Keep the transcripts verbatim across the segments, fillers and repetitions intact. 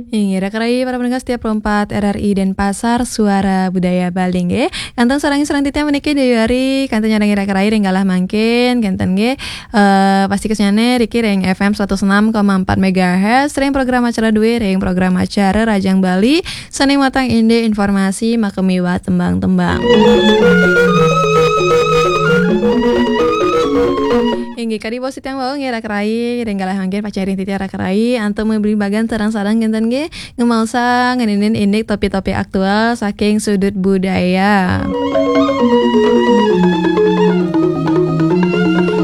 Inggih, raka rai para pendengar setia Pro empat R R I Denpasar, Suara Budaya Bali nggih. Kantun sareng-sareng titiang puniki Dewi Ari, kantun nyarengi raka rai ring galah mangkin, kenten nggih. Eh, pasti kesnyane riki ring F M seratus enam koma empat megahertz, ring program acara duwe, ring program acara Rajang Bali, sane matang indik informasi makemiwah tembang-tembang. Inggih, kadi bos titiang wau nggih raka rai, ring galah mangkin pacang ring titiang raka rai, antuk mabebagan sareng-sareng kenten nggih, ngemaosang ngeninin indik topik-topik aktual saking sudut budaya.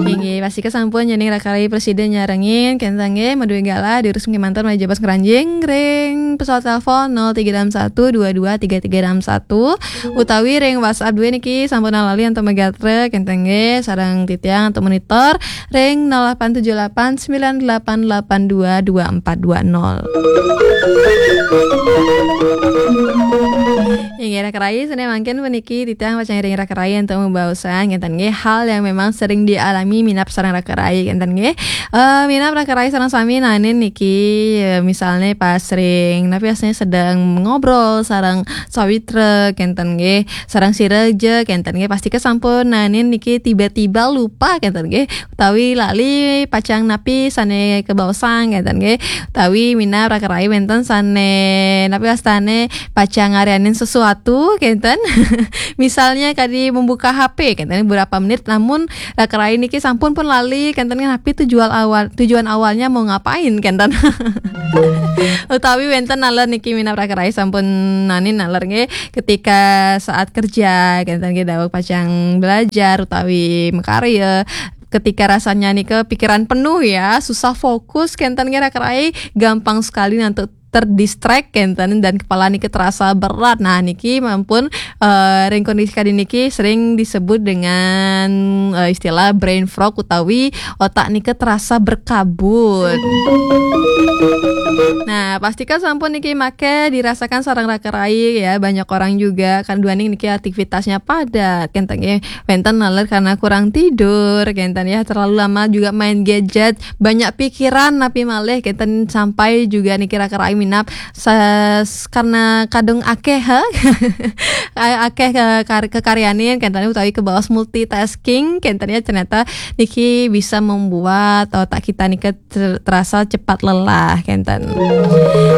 Inggih, pastika sampun nyening raka rai prasida nyarengin, kenten nggih, maduwe galah, durus mangkin manten malih jebos ngranjing ring pesawat telepon nol tiga enam satu dua dua tiga tiga enam satu, utawi ring WhatsApp duwe niki sampun lali antuk magatra, kenten nggih, sareng titiang antuk monitor ring nol delapan tujuh delapan sembilan delapan delapan dua dua empat dua nol. Inggih, raka rai, sane mangkin puniki titiang pacang ring raka rai antuk mabaosan, kenten nggih, hal yang memang sering dialami minab sareng raka rai, kenten nggih. Eh, minab raka rai sareng sami naenin niki, eh, misalne pas ring, napi asline sedeng ngobrol sareng sawitra, kenten nggih, sareng sira ja, kenten nggih, pastika sampun naenin niki tiba-tiba lupa, kenten nggih, utawi lali pacang napi sane kabaosang, kenten nggih, utawi minab raka rai wenten sane napi wastane pacang ngaryanin sesuatu, kenten. Misalnya kadi membuka H P, kenten, beberapa menit, namun raka rai niki sampun pun lali, kenten, napi tujuan awal, tujuan awalnya mau ngapain, kenten. Utawi wenten naler niki minab raka rai sampun naenin naler nggih, ketika saat kerja, kenten nggih, daweg pacang belajar utawi makarya, ketika rasanya nika pikiran penuh ya, susah fokus, kenten nggih raka rai, gampang sekali nantuk terdistract, kenten, dan kepala niki terasa berat. Nah, niki mampun, eh, ring kondisi kadi niki sering disebut dengan, eh, istilah brain fog utawi otak nika terasa berkabut. Nah, pastika sampun niki make dirasakan sareng raka rai ya, banyak orang juga kan duaning niki aktivitasnya padat, kenten nggih, wenten naler karena kurang tidur, kenten ya, terlalu lama juga main gadget, banyak pikiran napi malih, kenten, sampai juga niki raka rai minab sa-, karena kadung akeh, ha? A-, akeh ke-, kar-, kekaryanin, kenten, utawi kabaos multitasking, kenten ya, ternyata niki bisa membuat otak kita nika ter-, terasa cepat lelah, kenten.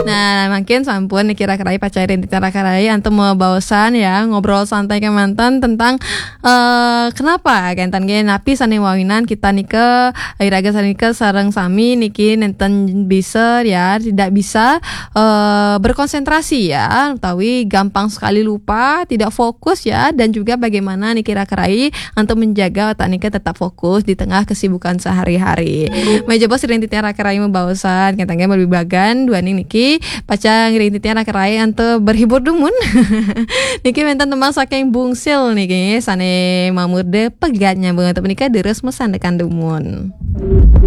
Nah, mangkin sampun niki raka rai pacang ring titiang raka rai antuk mabaosan ya, ngobrol santai kemanten tentang, eh, kenapa, kenten nggih, napi sane mawinan kita nika, iraga sane nika sareng sami niki nenten bisa ya, tidak bisa, eh, berkonsentrasi ya, utawi gampang sekali lupa, tidak fokus ya, dan juga bagaimana niki raka rai antuk menjaga otak nika tetap fokus di tengah kesibukan sehari-hari. Malih jebos ring titiang raka rai mabaosan, kenten nggih, mabebagan duaning niki pacang ring titiang raka rai antuk berhibur dumun. Niki wenten tembang saking Bungsil niki sane mamurda Pegat, nyambung antuk punika durus masandekan dumun.